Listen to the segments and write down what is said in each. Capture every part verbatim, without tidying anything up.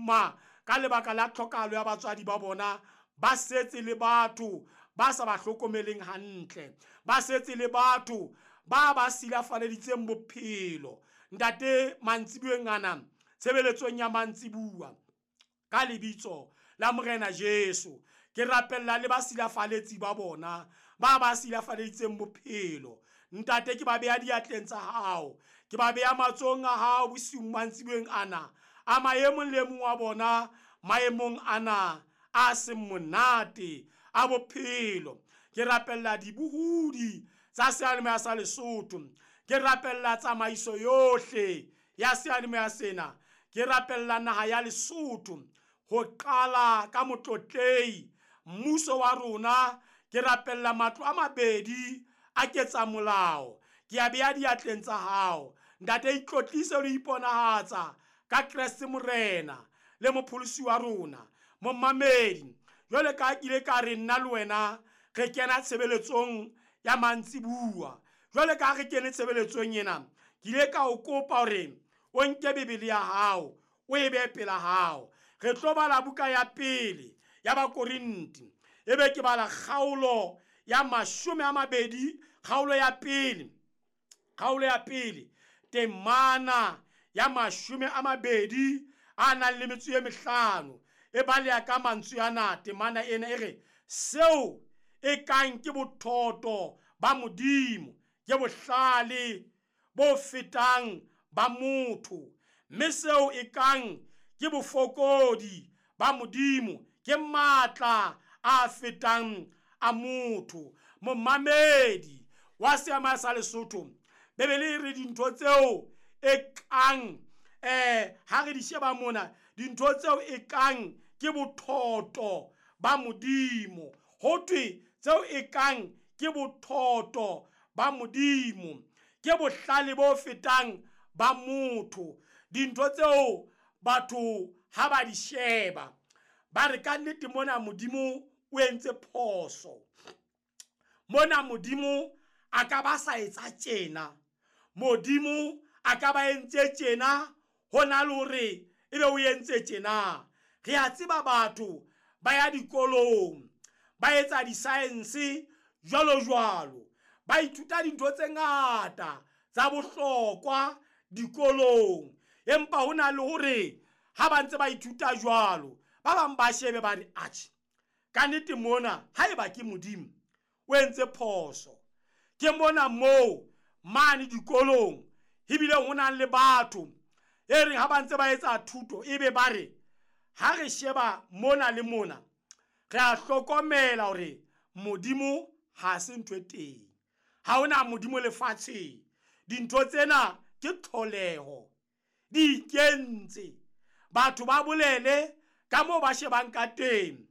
boima ka lebaka la tlhokahalo ya batswadi ba bona, ba setse le batho ba sa ba hlokomeleng hantle, ba setse le batho ba ba silafaleditseng bophelo. Ntate, mantsibueng ana, tshebeletsong ya mantsibua, ka lebitso la Morena Jesu, ke rapella le ba silafaletsi ba bona, ba ba silafaleditseng bophelo. Ntate, ke ba beha diatleng tsa hao, ke ba beha matsohong a hao bosiung mantsibueng ana, a maemong le mong wa bona, maemong ana a seng monate a bophelo. Ke rapella dibohudi tsa seyalemoya sa Lesotho, ke rapella tsamaiso yohle ya seyalemoya sena, ke rapella naha ya Lesotho ho qala ka motlotlei mmuso wa rona. Ke rapella matlo a mabedi a ketsa molao, ke a beha diatleng tsa hao. Ntate, itlotlise le iponahatsa ka Kreste Morena le mopholosi wa rona. Momamedi, jwale ka ke ile ka re nna le wena re kena tshebeletsong ya mantsibua, jwale ka re kene tshebeletsong ena, ke ile ka o kopa hore o nke Bibele ya hao o e behe pela hao. Re tlo bala buka ya pele ya Bakorinti, ebe ke bala kgaolo ya mashome a mabedi, kgaolo ya pele, kgaolo ya pele temana ya mashome a mabedi a nang le metso e mehlano. E baleha ka mantswe ana, temana ena e re, seo e kang ke bothoto ba Modimo, ke bohlale bo fetang ba motho, mme seo e kang ke bofokodi ba Modimo, ke matla a fetang a motho. Momamedi wa seyalemoya sa Lesotho, Bibele e re dintho tseo e kang eh ha re di sheba mona, dintho tseo e kang ke bothoto ba Modimo, ho thwe tseo e kang ke bothoto ba Modimo, ke bohlale bo fetang ba motho. Dintho tseo batho ha ba di sheba ba re ka nnete mona Modimo o entse phoso, mona Modimo a ka ba sa etsa tjena, Modimo a ka ba entse tjena, hona le hore ebe o entse tjena. Re a tseba batho ba ya dikolong, ba etsa di-science jwalo jwalo, ba ithuta dintho tse ngata tsa bohlokwa dikolong, empa hona le hore ha ba ntse ba ithuta jwalo, ba bang ba shebe ba re atjhe, ka nnete mona haeba ke Modimo o entse phoso. Ke mona moo mane dikolong ebile ho nang le batho e reng ha ba ntse ba etsa thuto, ebe ba re ha re sheba mona le mona, re a hlokomela hore Modimo ha se ntho e teng, ha hona Modimo lefatsheng, dintho tsena ke tlholeho, di ikentse. Batho ba bolele ka moo ba shebang ka teng,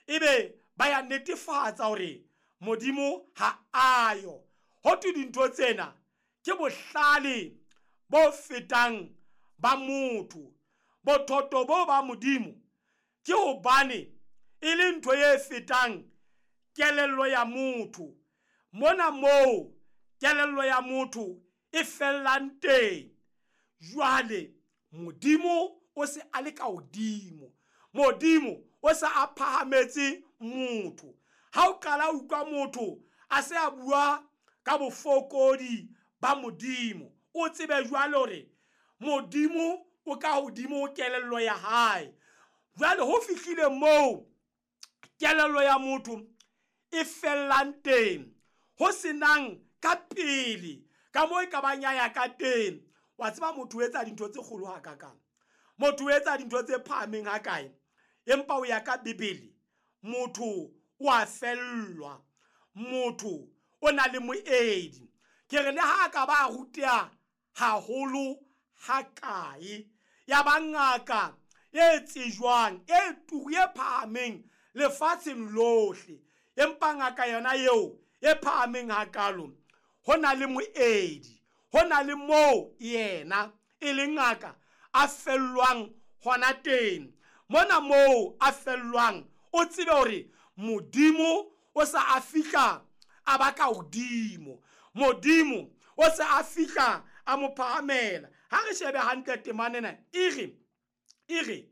ebe ba ya netefatsa hore Modimo ha ayo. Ho thwe dintho tsena ke bohlale bo fetang ba motho, bothoto bo ba Modimo ke hobane e le ntho e fetang kelello ya motho. Mona moo kelello ya motho e fellang teng, jwale Modimo o se a le ka hodimo, Modimo o se a phahametse motho. Ha o qala o utlwa motho a se a bua ka bofokodi ba Modimo, o tsebe jwale hore Modimo o ka hodimo ho kelello ya hae. Jwale ho fihlile moo kelello ya motho e fellang teng, ho senang ka pele ka moo e ka bang ya ya ka teng. Wa tseba motho o etsa dintho tse kgolo hakakang, motho o etsa dintho tse phahameng hakae, empa o ya ka Bibele motho o a fellwa, motho o na le moedi. Ke re le ha ka ba ruteha haholo hakae, ya ba ngaka e tsejwang e turu e phahameng lefatsheng lohle, empa ngaka yona eo e phahameng hakalo, ho na le moedi, ho na le moo yena e le ngaka a fellwang hona teng. Mona moo a fellwang, o tsebe hore Modimo o sa a fihla a ba ka hodimo, Modimo o sa a fihla a mo phahamela. Ha re shebe hantle temana ena, e re, e re